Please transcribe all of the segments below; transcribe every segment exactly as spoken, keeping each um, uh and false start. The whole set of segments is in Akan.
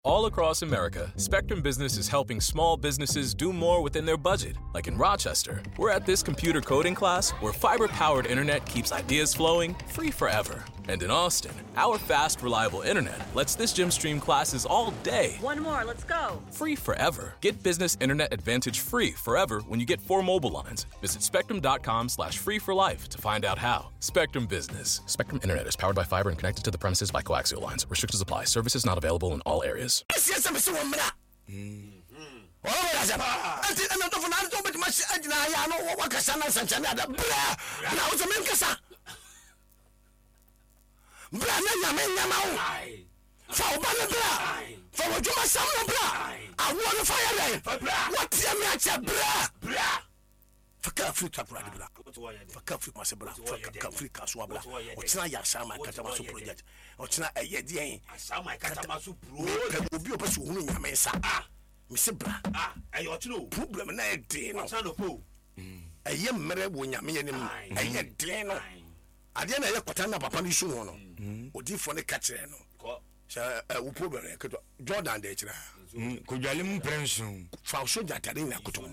All across America, Spectrum Business is helping small businesses do more within their budget. Like in Rochester, we're at this computer coding class where fiber powered internet keeps ideas flowing free forever. And in Austin, our fast, reliable internet lets this gym stream classes all day. One more, let's go. Free forever. Get business internet advantage free forever when you get four mobile lines. Visit spectrum.com slash free for life to find out how. Spectrum Business. Spectrum Internet is powered by fiber and connected to the premises by coaxial lines. Restrictions apply. Services not available in all areas. Ɛsiɛ sɛ mese wɔ mmra ɛnti ɛna dɔfo na ade wobɛtumi ahyɛ agyina ayɛ ano wakasa na nsɛnkyɛnne ada bra bra wo sɛ menkasa bra na Nyame nyama wo fa wo ba no bra fa w'adwuma sɛm no bra awoɔ no fa yɛ dɛn wateɛ me akyɛ bra fa kaa firi Takoradi bra fa kaa firi Kumase bra fa kaa firi Kasoa bra ɔkyena yɛ Asaman Katamaso project ɔkyena ɛyɛ deɛn mepɛ obi ɔpɛ sɛ ɔhunu Nyame nsa mese bra problem na ɛyɛ den no ɛyɛ mmerɛ wɔ Nyame anim ɛyɛ den no adeɛ na ɛyɛ kwata na papa no su ho no odiifoɔ no ka kyerɛ no sɛ ɛ wo problem yɛ ketewa Jordan de kyerɛ mm, kodwale mu mprɛ nson. Fa wo sogya atade nyinaa koto mu.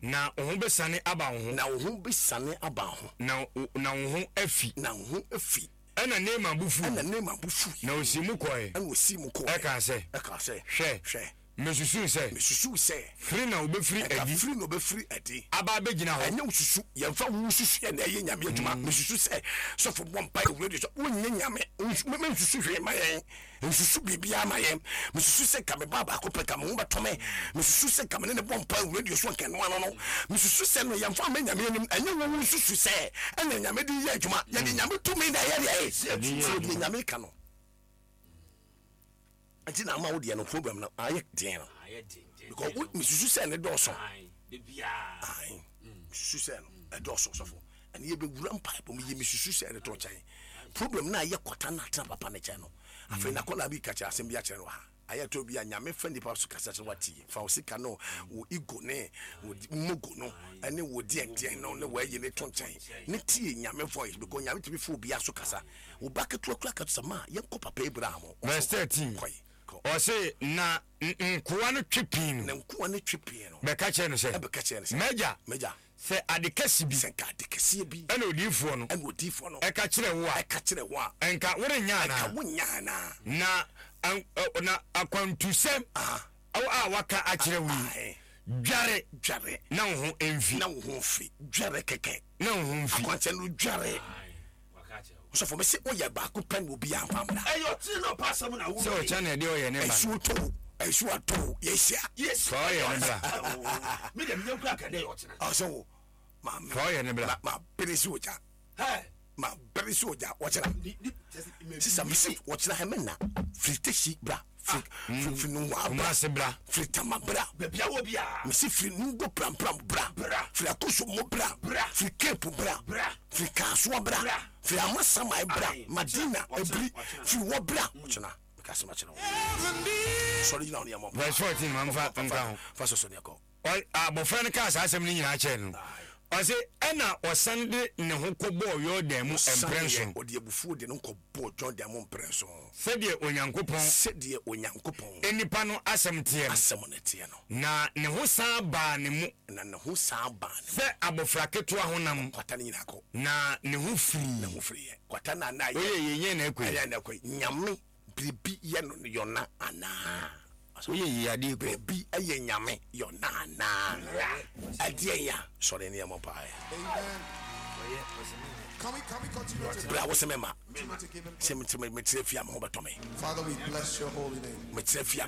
Na wo ho bɛsane aba wo ho. Na wo ho bɛsane aba wo ho. Na na wo ho afi. Na wo ho afi. Ɛnna Naaman bo fui. Ɛnna Naaman bo fui. Na ɔsii mu kɔe. Ɛnna ɔsii mu kɔe. Ɛkaa sɛ. Ɛkaa sɛ. Hwɛ. Hwɛ. Mesusuu sɛ. Mesusuu sɛ. Firi na ɔbɛfiri adi. Ɛka firi na ɔbɛfiri adi. Aba abɛgyina hɔ. Ɛnyɛ wo susu. Yɛmfa wo susuiɛ na ɛyɛ Nyame adwuma. Mesusu sɛ sɔfo bɔ mpaeɛ wɔ radio so. Wonyɛ Nyame. Mensusu hwee mma yɛn. Nsusu biribiara ma yɛn. Mesusu sɛ nka me ba baako pɛ nka me ho bɛtɔ me. Mesusu sɛ nka me ne no bɔ mpae wɔ radio so anka ɛno ano no. Mesusu sɛ no yɛmfa mma Nyame anim. Ɛnyɛ wo wo nsusu sɛ ɛna Nyame de yɛ adwuma. Yɛde Nyame tumi na ɛyɛ deɛ. Tie deɛ Nyame ka no. Nti na ama wo deɛ no problem no ayɛ den no. Because wo mesusu sɛ ne dɔɔso. Ae, mesusu sɛ no ɛdɔɔso sɔfo. Ɛne yɛbɛwura mpaebɔ mu yɛ mesusu sɛ ne to nkyɛn. Problem no ayɛ kwata no atena papa no kyɛn no. Afei na akwadaa bi ka kyerɛ asɛm bi akyerɛ no wɔ ha. Ayɛ tɔ bi a Nyame fa nipa so kasa kyerɛ watie. Fa wo sika no, wo ego ne wo mogo no ɛne wo deɛn deɛn no ne w'ayi ne to nkyɛn ne tie Nyame voice because Nyame tumi fa obiara so kasa. Wo ba ketewa kura ka to sɛ ma yɛnkɔ papa Abraham hɔ. Verse thirteen, Kɔe, kɔ. Ɔse, na nkoa no twe pii no. Na nkoa no twe pii no. Bɛka kyerɛɛ no sɛ. Ɛbɛka kyerɛɛ no sɛ. M'agya. M'agya. Sɛ ade kɛse bi. Sɛ nka ade kɛseɛ bi. Ɛna odiyifoɔ no. Ɛna odiyifoɔ no. Ɛka kyerɛɛ wo a. Ɛka kyerɛɛ wo a. Nka worennya anaa? Nka wonnya anaa? Na, na akwantusɛm. Aha. A waka akyerɛ wo yi. Dware. Dware. Na wo ho mfi. Na wo ho mfi. Dware kɛkɛ. Na wo ho mfi. Akwankyerɛ no dware. Ɔsɔfo mese woyɛ baako pɛ na obiara mfa mmra. Ɛyɛ ɔtene na ɔpɛ asɛm na wo. Sɛ ɔkyɛ na ɛde ɔyɛ ne ba. Nsuo tɔ o, nsuo atɔ o, yɛhyia. Fa ɔyɛ ne bra. Me deɛ menyɛ kura kɛdɛ yɛ ɔkyena. Ɔsɛ wo. Ma Fa ɔyɛ ne bra. Ma bere si ogya. Ma bere si ogya ɔkyena. Sisa mese ɔkyena hɛmɛ na firi tesi bra. Firi firi firi nungua bra. Kumasi bra. Firi tama bra. Baabi a wɔ biara. Mese firi nungo prampram bra. Bra. Firi akoso bra. Bra. Firi Cape bra. Bra. Firi Kasoa bra. Bra. Firi Amasaman bra. Aye. Madina Ɔkyena, Ebiri. ɔkyena. Firi hɔ bra. Ɔkyena meka asɛm akyerɛ wo. Sɔre gyina hɔ ne yɛmmɔ mpaeɛ. Verse fourteen ma mfa nka ho. Fa sɔsɔ ne yɛkɔ. Ɔ, abɔfra no kaa saa asɛm no nyinaa kyerɛɛ no. Ɔse, ɛna ɔsan de ne ho kɔbɔɔ Yordan mu Ɔsan mprɛnson. yɛ, ɔde abufuo de ne ho kɔbɔɔ Yordan mu mprɛnson. Sɛdeɛ Onyankopɔn. Sɛdeɛ Onyankopɔn. Nipa no asɛm teɛ no. Asɛm no teɛ no. Na ne ho san baa ne mu. Na ne ho san baa ne mu. Sɛ abɔfra ketewa honam. Kwata no nyinaa kɔ. Na ne ho firii. Ne ho firiiɛ. Kwata no a na ayɛ. Woyɛ yei nyɛ na ɛkɔ yi. Ɛyɛ na ɛkɔ yi. Nyame biribi yɛ no yɔna anaa? Woyɛ yei adeɛ kɔ. Biribi yɛ Nyame yɔna anaa? Ɛdeɛn ya? Sɔre ne yɛmmɔ mpaeɛ. Berɛ a wo se mema sɛ mekyerɛ fie a me ho bɛtɔ me. Mekyerɛ fie a